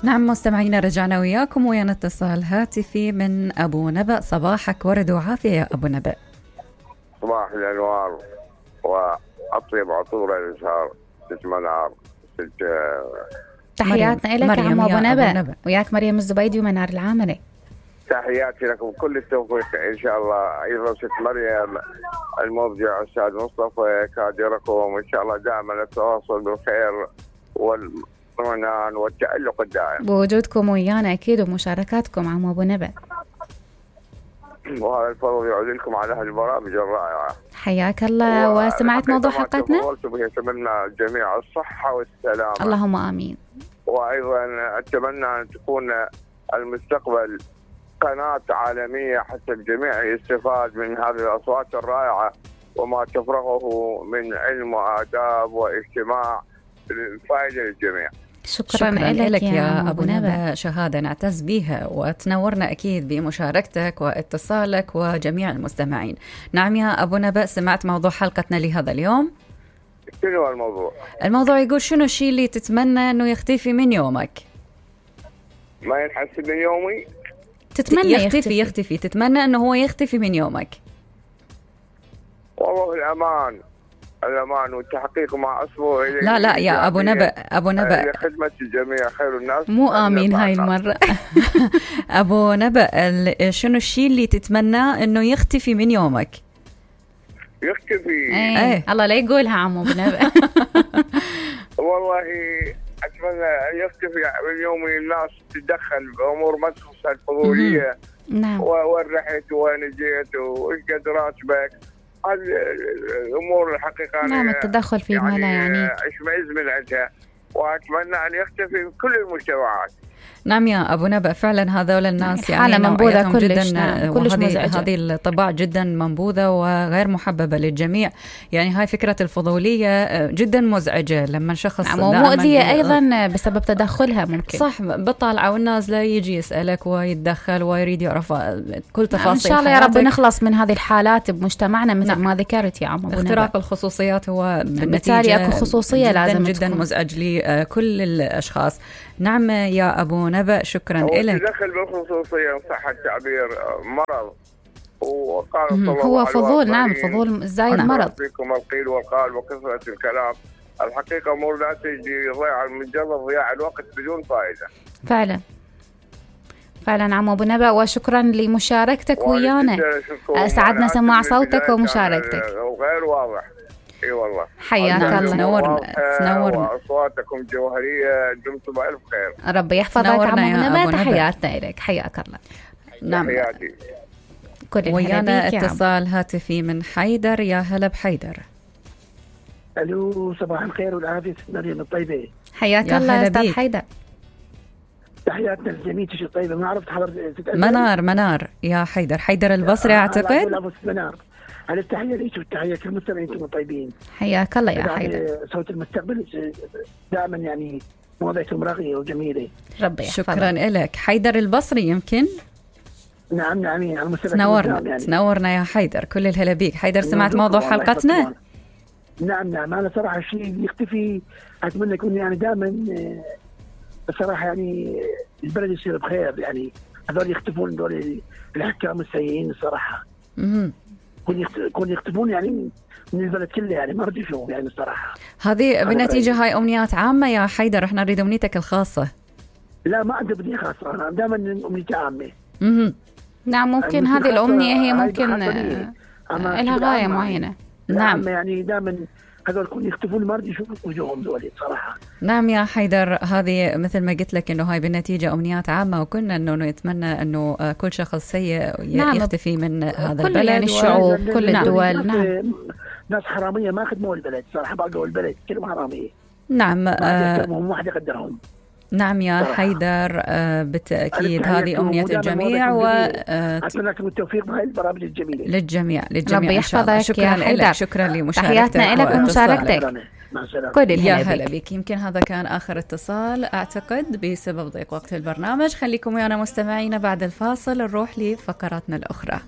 نعم مستمعينا، رجعنا وياكم ويانا اتصال هاتفي من أبو نبأ. صباحك ورد وعافية يا أبو نبأ. صباح الأنوار وأطيب عطور الإزهار ست منار. تحياتنا لك يا عم أبو نبأ. وياك مريم الزبيدي ومنار العامري. تحياتي لكم كل التوفيق إن شاء الله. أيضا ست مريم المبدع أستاذ مصطفى كادركم إن شاء الله دائما التواصل بالخير والطمأنينة والتألق الدائم. بوجودكم ويانا أكيد ومشاركاتكم عم أبو نبأ. وهذا الفضل يعود لكم على هذه البرامج الرائعة. حياك الله. وسمعت موضوع حلقتنا؟ أتمنى الجميع الصحة والسلامة. اللهم آمين. وأيضا أتمنى أن تكون المستقبل قناة عالمية حتى الجميع يستفاد من هذه الأصوات الرائعة وما تفرغه من علم وآداب واجتماع للفائدة للجميع. شكرا لك يا أبو نبأ. شهادة نعتز بها وتنورنا أكيد بمشاركتك واتصالك وجميع المستمعين. نعم يا أبو نبأ، سمعت موضوع حلقتنا لهذا اليوم؟ شنو الموضوع؟ الموضوع يقول شنو الشيء اللي تتمنى أنه يختفي من يومك؟ ما ينحس من يومي؟ تتمنى يختفي. تتمنى أنه هو يختفي من يومك. والله الأمان والتحقيق مع أصله. لا يا أبو نبأ لخدمة الجميع خير الناس. مو آمين هاي المرة. أبو نبأ، شنو الشيء اللي تتمنى أنه يختفي من يومك؟ يختفي؟ ايه الله لا يقولها عمو أبو نبأ. والله أتمنى أن يختفي من يومي الناس تتدخل بأمور ما تخص الفضولية. نعم. وين رحت وين جيت وإيش قد راتبك، هذه الأمور الحقيقة. نعم، التدخل في ما لا يعنيك. أشمئز من عندها وأتمنى أن يختفي في كل المجتمعات. نعم يا أبو نبأ، فعلا هذول الناس يعني منبوذة كلش. جدا. كلش مزعجة. هذه الطباع جدا منبوذة وغير محببة للجميع. يعني هاي فكرة الفضولية جدا مزعجة لما شخص مؤذية أيضا بسبب تدخلها. ممكن صح، بالطالعة والنازلة يجي يسألك ويتدخل ويريد يعرف كل تفاصيل. إن شاء الله يا رب نخلص من هذه الحالات بمجتمعنا مثل ما ذكرت يا عم أبو نبأ. اختراق الخصوصيات هو بالتالي أكو خصوصية جداً لازم جدا تكون. مزعج لكل الأشخاص. نعم يا أبو نبأ، شكرا لك. تدخل بالخصوصية صح التعبير مرض. هو فضول. نعم، فضول زايد مرض. فيكم القيل والقال وكثرة الكلام. الحقيقة أمور لا تجي ضياع مجرد ضياع الوقت بدون فائدة. فعلا عم أبو نبأ، وشكرا لمشاركتك ويانا. أسعدنا سماع صوتك ومشاركتك. وغير واضح. اي والله. حياك الله. تنورنا. واصواتكم جوهريه، دمتم بألف خير. ربي يحفظك عم أبو نبأ. تحياتنا لك. حياك الله. نعم. حياتي. ويانا اتصال هاتفي من حيدر. يا هلا بحيدر. الو، صباح الخير والعافيه ست مريم الطيبه. حياك الله استاذ حيدر. تحياتنا للجميع. تشي طيبه. ما عرفت حضرتك. منار يا حيدر البصري اعتقد. منار. على التحية ليش والتحية كالمستمعين انتم طيبين. حياك الله يا حيدر. صوت المستقبل دائما يعني مواضيعكم راقية وجميلة. ربي يحفظك. شكرا لك. حيدر البصري يمكن. نعم على المستمع. تنورنا يا حيدر، كل الهلا بيك. حيدر، سمعت موضوع حلقتنا؟ نعم أنا صراحة شيء يختفي أتمنى يكون يعني دائما بصراحة يعني البلد يصير بخير. يعني هذول يختفون دول الحكام السيئين الصراحة. كون يختفون يعني من البلد كله. يعني ما ردي شوف يعني الصراحة. هذه بالنتيجة هاي أمنيات عامة يا حيدر، احنا نريد أمنيتك الخاصة. لا ما عندي أمنية خاصة، أنا دائما أمنيتي عامة. نعم ممكن هذه الأمنية هي ممكن لها غاية معينة. نعم يعني دائما هذول يكون يختفون ما ردي يشوفوا وجوههم دولي صراحة. نعم يا حيدر، هذه مثل ما قلت لك إنه هاي بالنتيجة أمنيات عامة، وكنا إنه نتمنى إنه كل شخص سيء يختفي من هذا البلد. يعني الشعوب كل الدول. نعم. ناس حرامية ما خدموا البلد صراحة، بقوا البلد كلهم حرامية. نعم. ما واحد يقدرهم. نعم يا حيدر، بالتأكيد هذه أمنية الجميع، وأتمنى لكم التوفيق بهاي البرامج الجميلة للجميع. ربي يحفظك. شكرا لك. شكرا لمشاركتك. تحياتنا لك ومشاركتك. يا هلا بك. يمكن هذا كان آخر اتصال أعتقد بسبب ضيق وقت البرنامج. خليكم ويانا مستمعينا، بعد الفاصل نروح لفقراتنا الأخرى.